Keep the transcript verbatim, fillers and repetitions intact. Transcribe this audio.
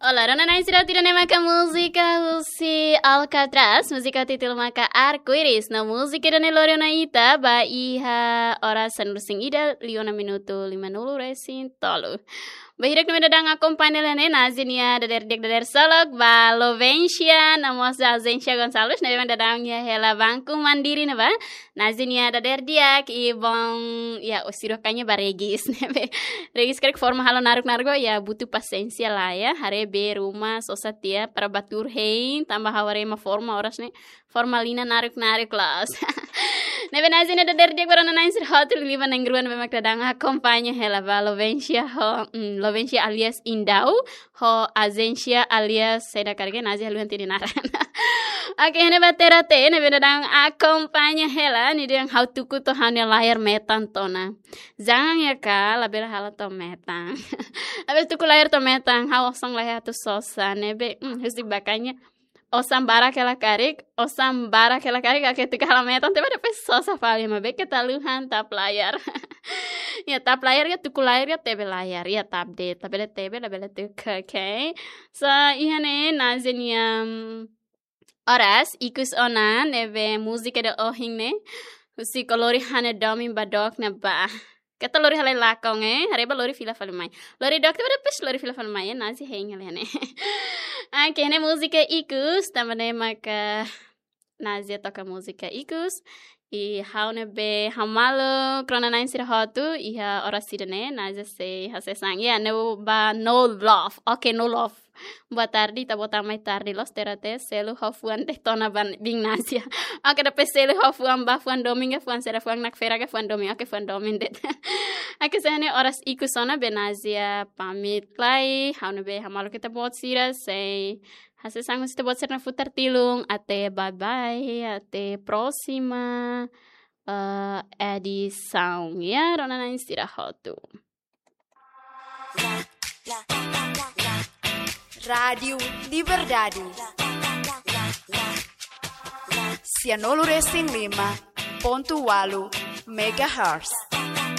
Olá, rona-na'in sira, ida-ne'e maka múzika husi Alcatraz, múzika títulu maka Arco-Íris. No múzika ida-ne'e lori ona ita ba iha oras sanulu-resin-ida, liu ona minutu lima-nulu-resin-tolu. Ba hirak ne'ebé daudaun akompaña hela ne'e, Nazi nia dadeer di'ak, dadeer solok ba Lovensia, no mós Azénsia Gonçalves, ne'ebé daudaun iha hela Banco Mandiri ne'ebá. Nazi nia dadeer di'ak, i bom, ya, o siro kanya ba Regis, ne'ebé Regis karik forma halo naruk-naruk, ya, butuh pasiénsia lah, ya. Haree be ruma sosa tiha para bá tuur hein, tanba ha'u haree ema forma oras ne'e, forma linan naruk-naruk loos. Ne'ebé Nazi nia dadeer di'ak ba rona-na'in sira hotu, liuliu ba na'in-rua ne'ebé mak daudaun akompaña hela ba Lovensia ho, mm, Lovensia alias Indau, ho Azénsia alias, saida karik, Nazi haluha hatene naran. Oke, iha ne'e ba Terate, ne'ebé daudaun akompaña hela, nia dehan ha'u tuku to'o ha'u-nia layar metan tiha ona. Jangan ya, Kak, labele halo to'o metan. Labele tuku layar to'o metan, ha'u osan laiha atu sosa, ne'ebé, mm, husi bakanya. Osan barak hela karik, osan barak hela karik, oke, tuku halo metan, tanba depois sosa fali, maibé keta haluha tap layar. Ya, tap layar ka, tuku layar ka, tebe layar, ya, tap de'it, labele tebe, labele tuku, oke. So, iha ne'e, Nazi nia, mm, oras ikus ona, ne'ebé múzika ida ohin ne'e, husi Kolori Hane Domin ba dook ne'ebá. Keta lori halai lakon, eh, haree ba lori fila fali mai. Lori dook tiha ba depois lori fila fali mai, eh, Nazi hein hela ne'e. Oke, ne'e múzika ikus, tanba ne'e maka Nazi toka múzika ikus. I ha'u ne'ebé hamaluk rona-na'in sira hotu, iha oras ida-ne'e, Nazi sei hasees an. Ya, ne'e ba No Love. Oke, No Love. Boa tarde, ita-boot mai tarde loos, Terate, selu ho fuan de'it ona ba biin Nazi. Oke, depois selu ho fuan ba fuan domin ka, fuan sira, fuan nakfera ka fuan domin. Oke, fuan domin de'it. Oke, so iha ne'e oras ikus ona be Nazi pamit lai, ha'u ne'ebé hamaluk ita-boot sira, sei hasees an husi ita-boot sira-nia futar tilun. Até bye bye, até próxima, eh, edisaun. Ya, rona-na'in sira hotu. Rádio Liberdade. Sianulu resin lima pontu walu megahertz.